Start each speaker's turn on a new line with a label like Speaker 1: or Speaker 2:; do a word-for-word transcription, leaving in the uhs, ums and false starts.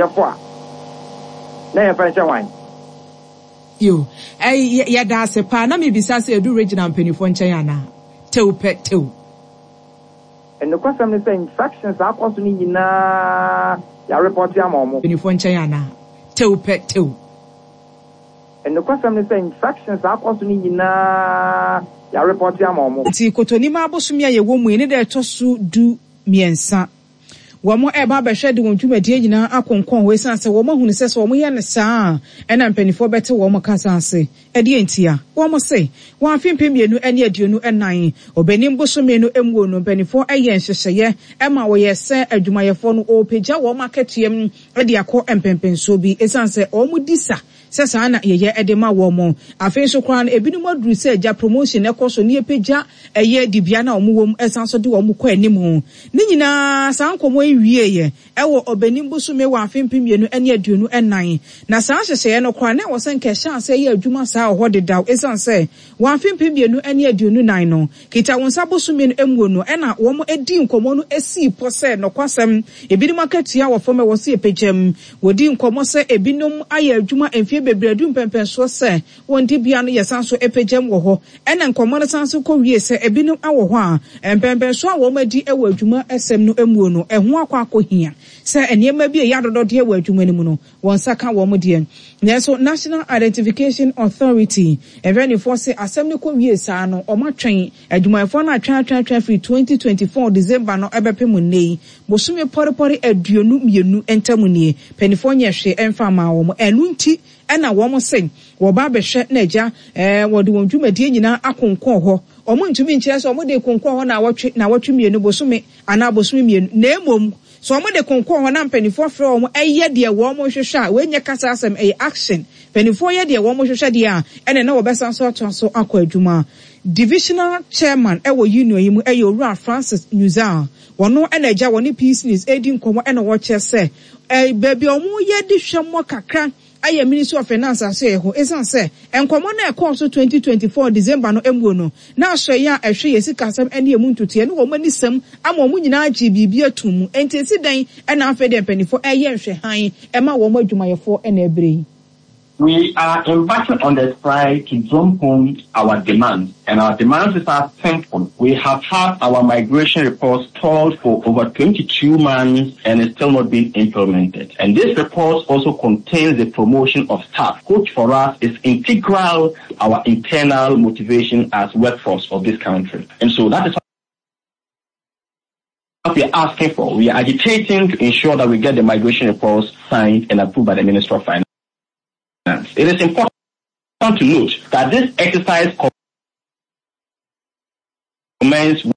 Speaker 1: Yɛfo a na yɛmfa nhyɛ hwan?
Speaker 2: Yo, ɛy yɛda ase paa. Na mebisa sɛ edu regional mpanimfoɔ nkyɛn anaa? Tew pɛ tew.
Speaker 1: Nokwasɛm ne sɛ infractions a akɔ so no nyinaa, yɛareport ama ɔmo.
Speaker 2: Mpanimfoɔ nkyɛn anaa? Tew pɛ tew.
Speaker 1: Nokwasɛm ne sɛ infractions a akɔ so no nyinaa, yɛareport ama ɔmo.
Speaker 2: Nti Kotonimu abosome a yɛwɔ mu yi ne deɛ ɛtɔ so du mmiɛnsa, wɔn ɛreba abɛhwɛ de wɔn dwumadie nyinaa akonkɔn hɔ, esiane sɛ wɔn ahunu sɛ sɛ wɔn yɛ no saa a, ɛna mpanimfoɔ bɛte wɔn kasa ase. Ɛdeɛ ntia wɔn se wɔn afe mpem mmienu ne aduonu nnan Ɔbɛnim bosome no emu no, mpanimfoɔ ɛyɛ nhyehyɛeɛ ɛma wɔyɛ sɛ adwumayɛfoɔ no wɔrepagya wɔn akatua mu de akɔ mpɛmpɛnsoɔ bi, esiane sɛ wɔn di sa sɛ saa na yɛyɛ ɛde ma wɔn mo. Afei nso koraa no, ebinom aduru sɛ agya promotion ɛkɔ so ne yɛpagya ɛyɛ dibea na wɔn wɔ mu, ɛsan so de wɔn kɔ anim ho ne nyinaa. Saa nkɔmɔ yi wie yɛ ɛwɔ Ɔbɛnim bosome wɔ afe mpem mmienu ne aduonu nnan, na saa nhyehyɛeɛ no koraa na ɛwɔ sɛ nkɛhyɛ ase yɛ adwuma saa wɔ hɔ dedaw, esiane sɛ wɔ afe mpem mmienu ne aduonu nan no kita wɔn nsa bosome no emu no, ɛna wɔn edi nkɔmɔ no esi pɔ sɛ nɔkwasɛm ebinom akatua wɔ fam, ɛwɔ sɛ yɛpagya. Wɔdi nkɔmɔ sɛ ebinom ayɛ adwuma mfie bebree adu mpɛmpɛnsoɔ sɛ wɔn dibea no yɛsan so apagyam wɔ hɔ. Ɛna nkɔmɔ no san so kɔ wie sɛ ebinom awɔ hɔ a mpɛmpɛnsoɔ a wɔn adi wɔ adwuma ɛsɛm no mu no, ɛho akɔ akɔhia sɛ nneɛma bi a ɛyɛ adɔdɔdeɛ wɔ adwuma no mu no, wɔn nsa ka wɔn deɛ. Nanso National Identification Authority mpanimfoɔ sɛ asɛm no kɔ wie saa no, wɔn atwɛn adwumayɛfoɔ no atwɛn atwɛn atwɛn firi twenty twenty-four December no ɛbɛpem nne yi, bosome pɔrepɔre aduonu mmienu ntam nie, mpanimfoɔ nyɛ hwee ɛmfa ama wɔn. Ɛno nti ɛna wɔn se wɔba abɛhwɛ na agya ɛɛ wɔde wɔn dwumadie nyinaa akonkɔn hɔ. Wɔn ntumi nkyerɛ sɛ wɔn de konkɔn hɔ na awɔtwe na awɔtwe mmienu, bosome anaa bosome mmienu, na emom so wɔn de konkɔn hɔ na mpanimfoɔ frɛ wɔn ɛyɛ deɛ wɔn hwehwɛ a, wɔnyɛ kasa asɛm, ɛyɛ action. Mpanimfoɔ yɛ deɛ wɔn hwehwɛ deɛ a, ɛna na wɔbɛsan so atoa so akɔ adwuma. Divisional chairman ɛwɔ union yi mu ɛyɛ Owura Francis Nuzal. Wɔn ɛna agya wɔne Peace News edi nkɔmɔ, ɛna wɔkyerɛ sɛ ɛɛ beebi a wɔn yɛ de hwɛ mmɔ kakra ayɛ Ministry of Finance ase yɛ hɔ, ɛsiane sɛ nkɔmmɔ no ɛkɔɔ so twenty twenty-four December no emu no, na asɔeɛ a ɛhwɛ yɛ sikasɛm ne emu ntotoeɛ ne wɔn ani sɛm ama wɔn nyinaa gye biribi atum mu. Nti esi dan ɛna afei deɛ mpanimfoɔ ɛyɛ nhwɛhan ɛma wɔn adwumayɛfoɔ ɛna ɛbrɛ yi.
Speaker 3: We are embarking on the strike to drum home our demands, and our demands are simple. We have had our migration report stalled for over twenty-two months and it's still not being implemented. And this report also contains the promotion of staff, which for us is integral to our internal motivation as workforce of this country. And so that is what we are asking for. We are agitating to ensure that we get the migration reports signed and approved by the Minister of Finance. It is important to note that this exercise commenced